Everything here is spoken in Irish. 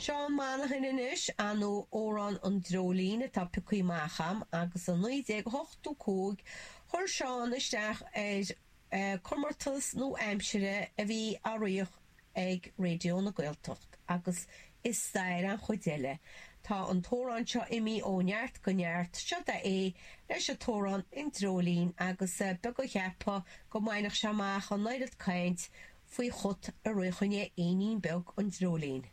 Seán Monaghan anois, ar ndóigh Amhrán an Dreoilín atá pioctha amach a'm agus i 1985 chuir Seán isteach ar comórtas nua-aimsire a bhí á rith ag Raidió na Gaeltacht agus is stair an chuid eile. Tá an t-amhrán seo imithe ó neart go neart, seo é leis an t-amhrán An Dreoilín agus beag a cheapfadh go mbainfeadh sé amach an oiread caint faoi chut a rith choinne éinín beag an dreoilín.